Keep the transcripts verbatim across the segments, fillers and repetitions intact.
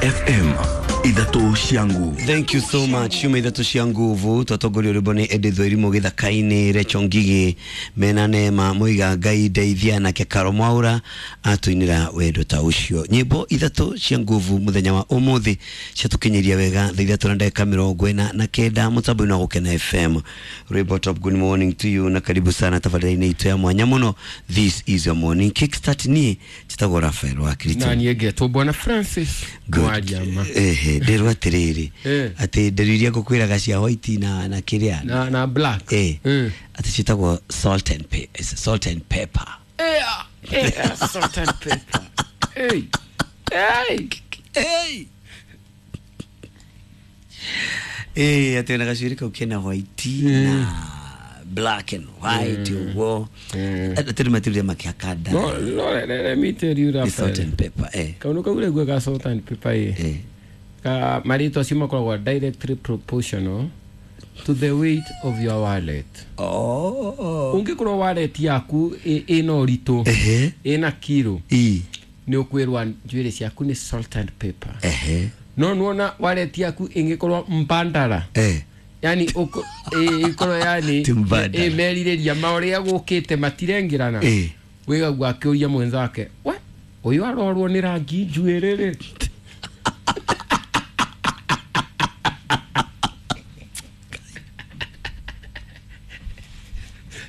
F M ithatũ cia nguvu. Thank you so much. Ciuma ithatũ cia nguvu twatongorio rwĩmbo nĩ Edith Wairimu gĩthaka-inĩ Rachel Ngigĩ mena Neema Muiga Ngai ndeithia nake Karo Mwaura atũinĩra wendo ta ũcio. Nyĩmbo ithatũ cia nguvu mũthenya wa ũmũthĩ ciatũkinyĩria wega thaa ithatũ na ndagĩka mĩrongo ĩna na kenda mũtambo-inĩ wa Gũkena F M. Rwĩmbo top, good morning to you na karibu sana tabarĩra-inĩ itũ ya mwanya mũno. This is your morning kickstart. Niĩ njĩtagwo Raphael wa Kristo. Na niĩ ngetwo Bwana Francis Mwariama. Ehe, nderwo atĩrĩrĩ Eh. atĩ nderu iria ngũkwĩraga cia white na na kĩrĩa na na black. Eh. Eh. Atĩ ciĩtagwo salt and pe salt and pepper. Eh, eh, salt and pepper. Hey. Hey. Hey. Eh, atĩ ona gacuĩrĩ kau kena white na black and white ũguo. Atĩ nĩ matirire makĩhaka nda. No, no, let, let me tell you Nĩ that. salt and pepper, eh. Kaundu kau ũraigua ga salt and pepper ĩ. Eh. Ka marĩtwa acio makoragwo directly proportional to the weight of your wallet. Oh. Ũngĩkorwo wallet yaku ĩ- ĩna ũritũ, Ehe. ĩna kiro, I. nĩ ũkwĩrwo njuĩrĩ ciaku nĩ salt and pepper. Ehe. No nĩwona wallet yaku ĩngĩkorwo mbandara, Eh. yani ũko- ĩ- ĩkorwo yani Ti mbandara. ĩ merirĩria ma ũrĩa gũkĩte matirengĩrana, Eh. wĩgagu akĩũria mwenzake, we ũyũ arorwo nĩ rangi njuĩrĩ rĩ.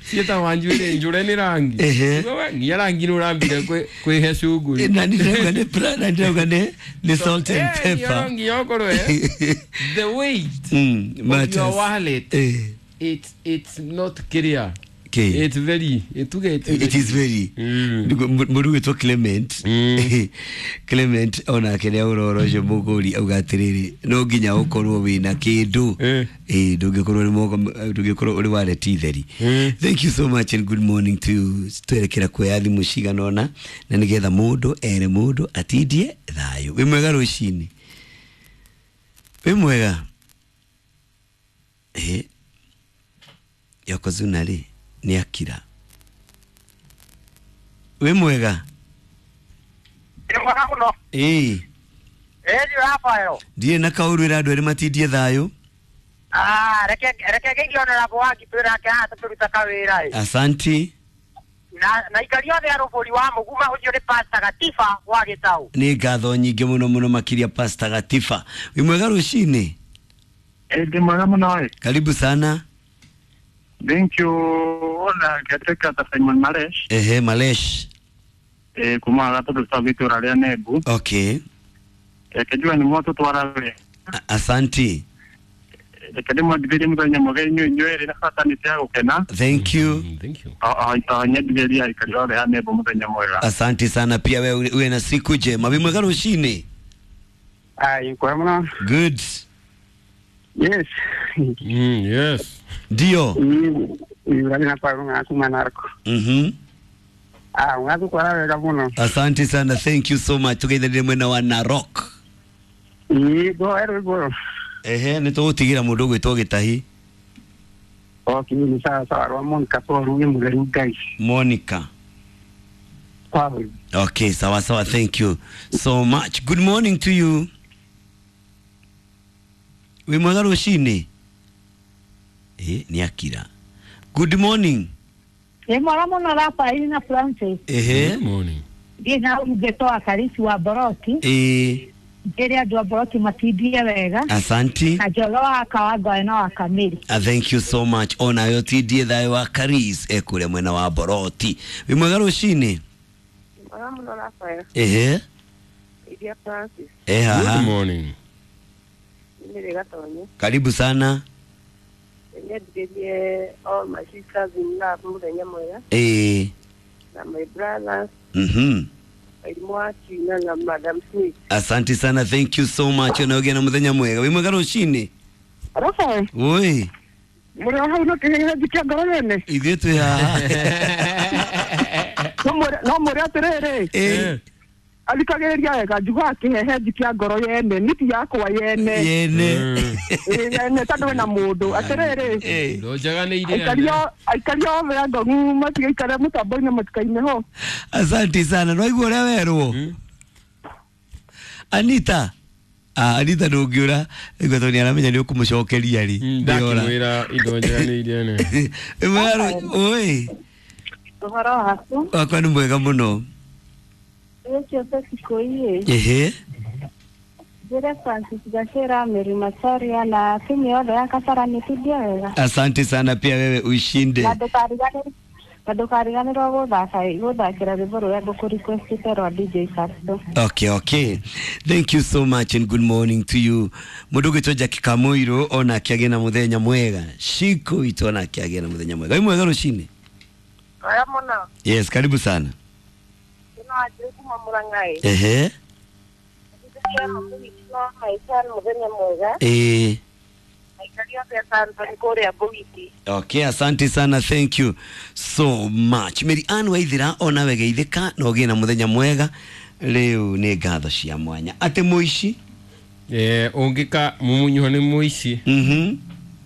Ciĩtagwa njuĩrĩ njũre nĩ rangi. Ehe. We, nginya rangi nĩ ũrambire kwĩ- kwĩhe cuguri. Na nĩ ndĩrauga nĩ pla- na nĩ ndĩrauga nĩ nĩ salt and Eh, pepper. nginya ũkorwo, eh, the weight Mm, of your matters. wallet, Eh. it's it's not clear. Okay. It's very, it it's It is very. Mm. Mũndũ gwĩtwo Clement. Mm. Clement onake nĩ aũra ũhoro ũcio mũgũri auga atĩrĩrĩ no nginya ũkorwo wĩna kĩndũ. Eh. Eh, ndũngĩkorwo ũrĩ moko ndũngĩkorwo ũrĩ wallet theri. Mm. Thank you so much and good morning to you. Twerekera kuoya thimũ cigana ũna na nĩgetha mũndũ ere mũndũ atindie thayũ. Wĩ mwega rũcinĩ? Wĩ mwega? Eh. Yokozuna rĩ nĩ akira. Wĩ mwega? Ndĩ mwega mũno. Ĩĩ. Ĩĩ ndiũ Rafael. Ndirĩ na kaũru ĩra andũ erĩ matindie thayũ. Ah, reke reke ngeithie honorable wa Ngitũ nake haha tũkĩruta kawĩra ĩ. Asanti. Na na ikari othe a rũbũri wa Mũguma ũcio nĩ Pastor Gatiba wa Gĩtaũ. Nĩ ngatho nyingĩ mũno mũno makĩria Pastor Gatiba. Wĩ mwega rũcinĩ? Ĩ ndĩ mwega mũno ĩ. Karibu sana. Thank you. Ona ngetĩka ta Simon Malesh. Ehe, Malesh. Ĩ kuma gatũndũ twa itũra rĩa Nembu. Okay. Reke njue nĩ mwatũtwara wega. A- Asanti. Reke ndĩmwendithĩrie mũthenya mwega inyuĩ inyuĩ erĩ na bata nĩ cia gũkena. Thank you. Mm, thank you. O nyendithĩrie aikari othe a Nembu mũthenya mwega. Asante sana pia wewe uwe na siku njema. Wĩ mwega rũcinĩ? Ai, kwa mũno. Good. Yes. Mm, yes. Ndio. Ni na pa nga kuma narko. Mhm. Ah, ngatũtwara wega mũno. Asante sana. Thank you so much. Tugeithanĩre mwena wa Narok. Ĩ, go ero go. Ehe, nĩ tũgũtigĩra mũndũ ũgwĩtwo Gĩtahi. Okay, ni sawa sawa rwa Monica Paul ni mũtheru Ngai. Monica. Paul. Okay, sawa sawa. Thank you so much. Good morning to you. Wĩ mwega rũcinĩ? Eh, nĩ akira. Good morning. Ĩ mwega mũno Rafael na Francis. Ehe. Good morning. Ndiĩ na ũrugĩtwo wa Karisi wa Boroti. Eh, Njĩre andũ a Boroti matindie wega. asanti. Na Njoro wa Kawangoe na wa Kamiri. Uh, thank you so much. Onayo tindie thayũ wa Karis ekũrĩa mwena wa Boroti. Wĩ mwega rũcinĩ? Mwega mũno Rafael. Ehe. Iria Francis. Eh, Good haha. morning. Nĩ Gatonye. Karibu sana. Nyendithĩrie all my sisters in love mũthenya mwega Eh. na my brothers Mhm. Mwarimũ wa Tina na Madam Smith. Asante sana. Thank you so much. Onayo na mũthenya mwega. Wĩ mwega rũcinĩ? Rafael, Oi. mũrĩ o hau no kĩhehenji kĩa ngoro yene. Ithuĩ twĩ haha. No mwĩre no mwĩre atĩrĩrĩ. Eh. Athikagĩrĩria wega njugaga kĩhehenji kĩa ngoro yene niti yakwa yene. Yene. Ĩ, yene tondũ wĩna mũndũ atĩrĩrĩ. Eh. Ndũnjaganĩire Aikari o- aikari othe a Ngong'u matigaikare mũtambo-inĩ matikaime ho. Asante sana. Nwaigua ũrĩa werwo? Anita. Ah, Anita ndũngĩũra igua tondũ nĩaramenya nĩ ũkũmũcokeria rĩ. Ndĩora. Ndakĩmwĩra indo njega nĩ iria nene. Ĩmwe oi. Ũhoro waku? Wakwa nĩ mwega mũno. Ũcio Kikuyu. Ehe. Njĩre Francis Gachera, Mary Macharia na timu yothe ya Kasarani tindie wega. Asante sana pia wewe ushinde. Na ndũkariganĩrwo na ndũkariganĩrwo gũthaka gũthakĩra rwĩmbo rũrĩa ngũkũrequestĩte rwa D J Casto. Okay, okay. Thank you so much and good morning to you. Mũndũ ũgwĩtwo Jackie Kamuiru ona akĩagĩa na mũthenya mwega. Shiko itũ ona akĩagĩa na mũthenya mwega. Wĩ mwega rũcinĩ? Oya mũno. Yes, karibu sana. Ĩno Wanjĩrĩ kuma Mũrang'a. Ehe. Mũthenya mwega. Eh. Aikari othe a Santoni kũrĩa Mbũgiti. Okay, asante sana, thank you so much. Mary Ann Waithira ona we geithĩka na ũgĩe na mũthenya mwega. Rĩu nĩ ngatho cia mwanya. Atĩ mũici? Eh, ũngĩka mumunywo nĩ mũici. Mhm.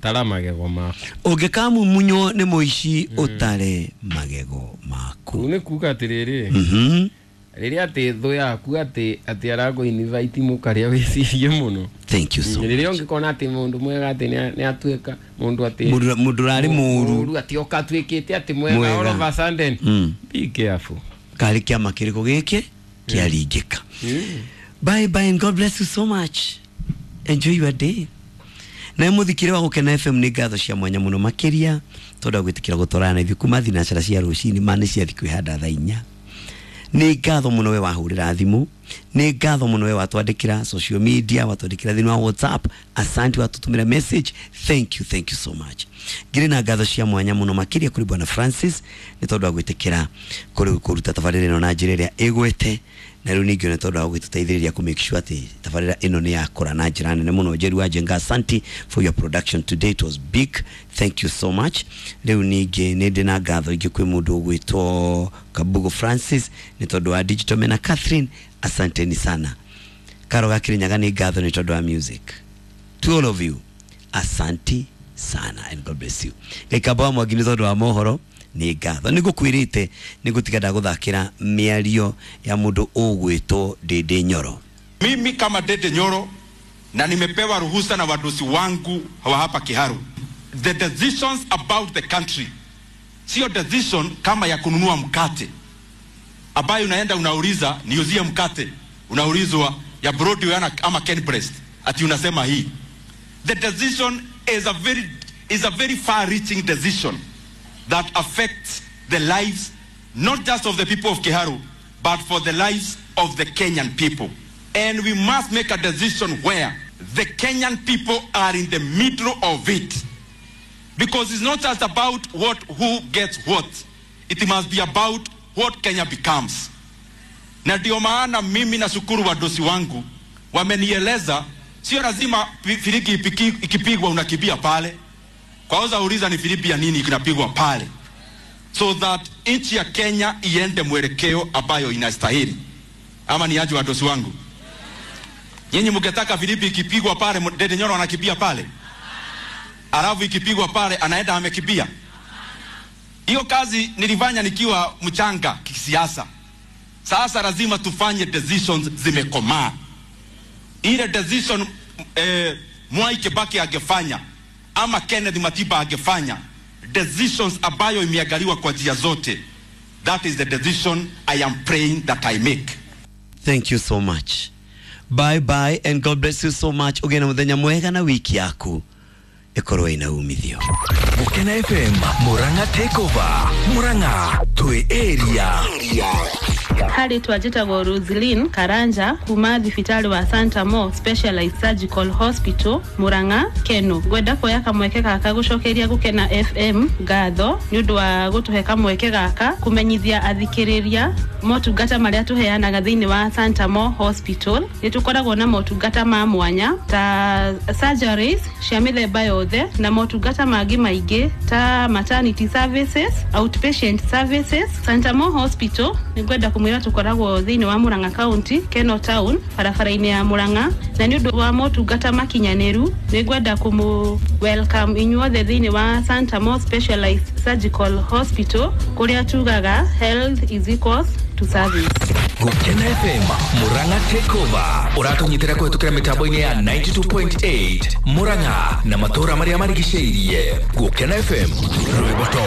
Tara magego maku. Ũngĩka mumunywo nĩ mũici ũtare magego maku. Kũu nĩ kuga atĩrĩrĩ. Mhm. Rĩrĩa atĩ thũ yaku atĩ atĩ arakũ invite mũkarĩa wĩcirie mũno. Thank you so much. Rĩrĩa ũngĩkona atĩ mũndũ mwega atĩ nĩ atuĩka mũndũ atĩ Mũndũ mũndũ ũrarĩ mũru. Mũru atĩ oka atuĩkĩte atĩ mwega all of a sudden. Mm. Be careful. Karĩ kĩama kĩrĩkũ gĩkĩ kĩaringĩka. Bye bye and God bless you so much. Enjoy your day. Na muthikire wa Gukena F M nĩ ngatho cia mwanya mũno makĩria tondũ gwĩtĩkĩra gũtwarana na ithuĩ kuma thinacara cia rũcinĩ ma nĩ ciathi kwĩhanda thaa inya. Nĩ ngatho mũno we wahũrĩra thimũ, nĩ ngatho mũno we watwandĩkĩra social media, watwandĩkĩra thĩinĩ wa WhatsApp, asante watũtũmĩra message, thank you, thank you so much. Ngĩrĩ na ngatho cia mwanya mũno makĩria kũrĩ Bwana Francis nĩ tondũ wa gwĩtĩkĩra kũrĩ kũruta tabarĩra ĩno na njĩra ĩrĩa ĩgwete, na rĩu ningĩ nĩ tondũ wa gũgĩtũteithĩrĩria kũ make sure atĩ tabarĩra ĩno nĩ yakũra na njĩra nene mũno. Njeru wa Njenga, asante for your production today, it was big, thank you so much. Rĩu ningĩ nĩ ndĩ na ngatho ingĩ kwĩ mũndũ ũgwĩtwo Kabugo Francis nĩ tondũ wa digital mena Catherine, asanteni sana. Karo ga Kirinyaga nĩ ngatho nĩ tondũ wa music. To all of you, asante sana and God bless you. Gĩkamba wa Mwangi nĩ tondũ wa mohoro nĩ ngatho. Nĩ ngũkwĩrĩte nĩ ngũtiga ndagũthakĩra mĩario ya mũndũ ũgwĩtwo Ndĩndĩ Nyoro. Mimi kama Ndĩndĩ Nyoro na nimepewa ruhusa na wadosi wangu wa hapa Kiharu, the decisions about the country sio decision kama ya kununua mkate ambayo unaenda unauliza niuzie mkate, unaulizwa ya Broadway ama Kenbreast, ati unasema hii. The decision is a very is a very far reaching decision that affects the lives not just of the people of Kiharu but for the lives of the Kenyan people. And we must make a decision where the Kenyan people are in the middle of it. Because it's not just about what who gets what. It must be about what Kenya becomes. Na ndio maana mimi nashukuru wadosi wangu wamenieleza sio lazima filimbi ikipigwa unakimbia pale. Kwanza uliza ni filimbi ya nini inapigwa pale. So that nchi ya Kenya iende mwelekeo ambayo inastahili. Ama ni aje wadosi wangu? Nyinyi mngetaka filimbi ikipigwa pale Ndĩndĩ Nyoro anakimbia pale? Alafu ikipigwa pale anaenda amekimbia. Hiyo kazi nilifanya nikiwa mchanga kisiasa. Sasa lazima tufanye decisions zimekomaa. Ile decision eh, Mwai Kibaki angefanya ama Kenneth Matiba angefanya, decisions ambayo imeangaliwa kwa njia zote, that is the decision I am praying that I make. Thank you so much. Bye bye and God bless you so much. Ũgĩe na mũthenya mwega na wiki yaku ĩkorwo ĩna umithio. Gukena F M Murang'a Takeover. Murang'a twi area. Harĩ twanjĩtagwo Roslyn Karanja kuma thibitarĩ wa Santa Mo Specialized Surgical Hospital Murang'a Keno. Ngwenda kuoya kamweke gaka gũcokeria Gukena F M ngatho nĩ ũndũ wa gũtũhe kamweke gaka kũmenyithia athikĩrĩria motungata marĩa tũheanaga thĩinĩ wa Santa Mo Hospital. Nĩ tũkoragwo na motungata ma mwanya ta surgeries cia mĩthemba yothe na motungata mangĩ maingĩ ta maternity services, outpatient services. Santa Mo Hospital nĩ ngwenda kumwĩra tũkoragwo thĩinĩ wa Murang'a County, Keno Town, barabara-inĩ ya Murang'a, na nĩ ũndũ wa motungata makinyanĩru nĩ ngwenda kũmũ welcome inyuothe thĩinĩ wa Santa Mo Specialized Surgical Hospital kũrĩa tugaga health is equals to service. Gukena F M Murang'a Takeover ũratũnyitĩra kũhetũkĩra mĩtambo-inĩ ya ninety-two point eight Murang'a na matũũra marĩa marigicĩirie. Gukena F M, rwĩmbo top.